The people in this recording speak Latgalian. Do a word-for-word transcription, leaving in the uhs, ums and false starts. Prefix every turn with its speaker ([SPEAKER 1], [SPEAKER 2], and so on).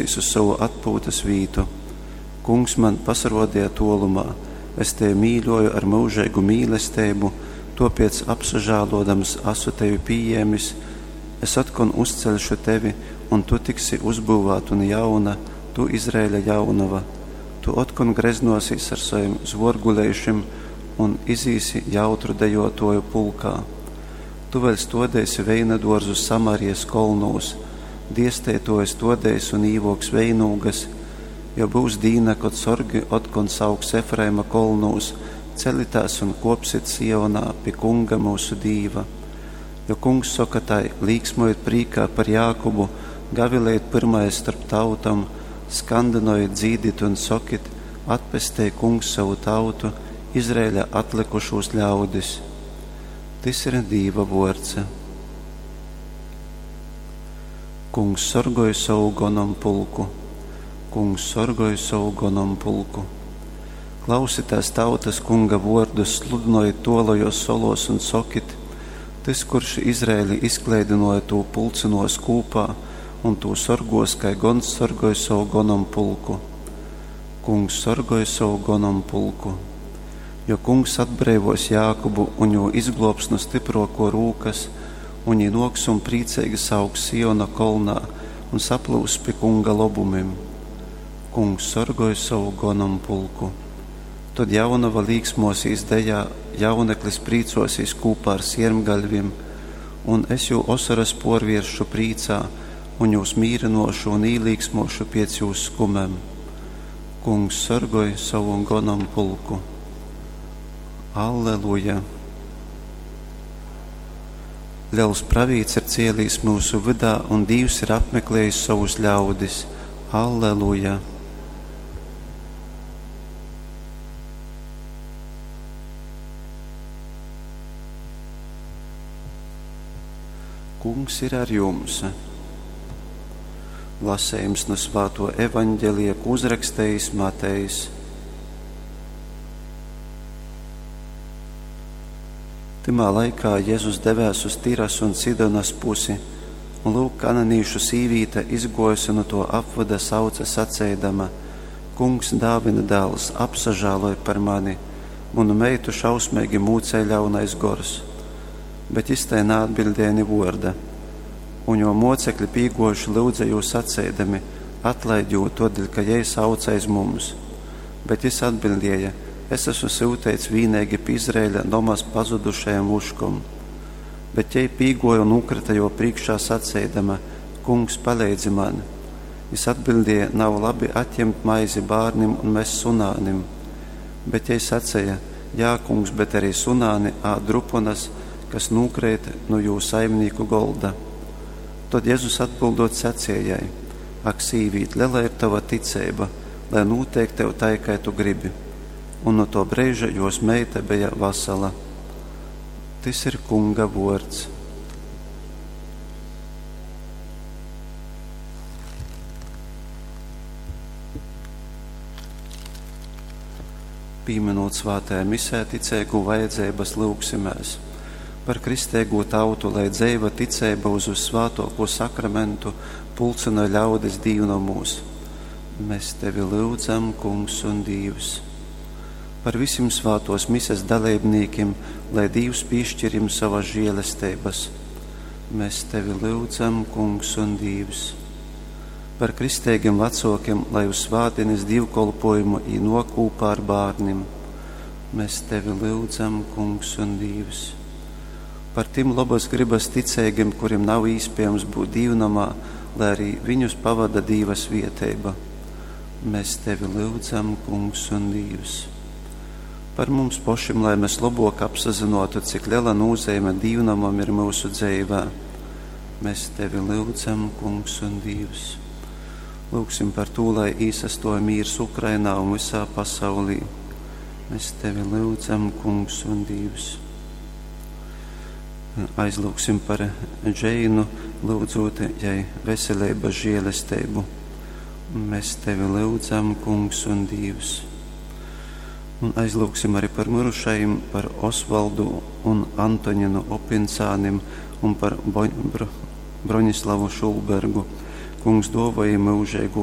[SPEAKER 1] uz sovu atpūtas vītu. Kungs man pasarōdeja tōlumā: Es tevi mīļoju ar myužeigu mīlesteibu, tōpēc apsažālōdams asu tevi pījēmis, es otkon uzceļšu tevi, un tu tiksi uzbyuvāta un jauna, tu, Izraeļa jaunova. Tu otkon greznōsīs ar sovim zvōrguleišim un izīsi jautru dejōtōju pulkā. Tu vēļ stōdeisi veinadōrzus Samarijas kolnūs, diesteitōji stōdeis un īvōks veinūgas, jo byus dīna, kod sorgi otkon sauks Efraima kolnūs: Celitēs un kōpsit Sionā pi Kunga myusu Dīva. Jo Kungs soka tai: Līksmojit prīkā par Jākubu, gavilejit pyrmais storp tautom, skandynojit, dzīdit un sokit: Atpestej Kungs sovu tautu, Izraeļa atlykušūs ļaudis. Tys ir Dīva vōrds. Kungs sorgoj sovu gonompulku. Kungs sorgoj sovu gonompulku. Klausitēs, tautas, Kunga vōrdus, sludynojit tōlajōs solōs un sokit: Tys, kurš Izraeli izkleidynōja, tū pulcynōs kūpā un tū sorgōs, kai gons sorgoj sovu gonompulku. Kungs sorgoj sovu gonompulku. Jo Kungs atbreivōs Jākubu un jū izglōbs nu styprōkō rūkas, un jī nōks un prīceigi sauks Siona kolnā un saplyuss pi Kunga lobumim. Kungs sorgoj sovu gonompulku. Tod jaunova līksmōsīs dejā, jauneklis prīcōsīs kūpā ar siermgaļvim, un es jū osoras pōrviersšu prīcā, un jūs mīrynōšu un īlīksmōšu piec jūs skumem. Kungs sorgoj sovu gonompulku. Alleluja! Lels pravīts ir cielīs myusu vydā, un Dīvs ir apmeklējis sovus ļaudis. Alleluja! Kungs ir ar jums. Lasējums no Svāto evaņģelija, ko uzrakstījis Matejs. Tymā laikā Jēzus devēs uz Tiras un Sidonas pusi, un lūk, kananīšu sīvīte izgōjusi nu to apvyda sauce saceidama: Kungs, Dāvida dāls, apsažāloj par mani, munu meitu šausmeigi mūcej ļaunais gors. Bet jis tai naatbildēja ni vōrda. Un jō mōcekļi pīgōjuši lyudze jū saceidami: Atlaid jū, tōdēļ, ka jei sauc aiz mums. Bet jis atbildēja: Es esmu syuteits vīneigi pi Izraeļa nomas pazudušajom vuškom. Bet jei pīgōja un nūkryta jō prīškā saceidama: Kungs, paleidzi man! Jis atbildēja: Nav labi atjimt maizi bārnim un mest sunānim. Bet jei saceja: Jā, kungs, bet arī sunāni ād druponas, kas nūkreit nu jū saimnīku golda. Tod Jezus atbildot saceja jai: Ak, sīvīt, lela ir tova ticeiba, lai nūteik tev tai, kai tu gribi. Un no to breiža jos meita beja vasala. Tys ir Kunga vōrds. Pīminūt svātajā misē ticeigū vajadzeibas, lyugsimēs par kristeigū tautu, lai dzeiva ticeiba uz vyssvātōkū sakramentu pulcynoj ļaudis dīvnomūs. Mēs tevi lyudzam, Kungs un Dīvs. Par visim svātōs mises daleibnīkim, lai Dīvs pīšķir jim savas žēlesteibas. Mēs tevi lyudzam, Kungs un Dīvs. Par kristeigim vecōkim, lai uz svātdienes dīvkolpojumu jī nōk kūpā ar bārnim. Mēs tevi lyudzam, Kungs un Dīvs. Par tim lobas gribas ticeigim, kurim nav īspējams būt dīvnomā, lai arī viņus pavada Dīva svieteiba. Mēs tevi lyudzam, Kungs un Dīvs. Par mums pošim, lai mēs labāk apsazinotu, cik liela nozīme dīvnamam ir mūsu dzīvē. Mēs tevi lyudzam, Kungs un Dīvs. Lūgsim par to, lai īsastoja mīrs Ukrainā un visā pasaulī. Mēs tevi lyudzam, Kungs un Dīvs. Aizlūgsim par Džeinu, lūdzot jai veselības žēlestību. Mēs tevi lyudzam, Kungs un Dīvs. Un aizlūgsim arī par mirušajiem, par Osvaldu un Antoņinu Opincānim un par Bo Bro Broņislavu Šulbergu. Kungs duovoj jim myužeigū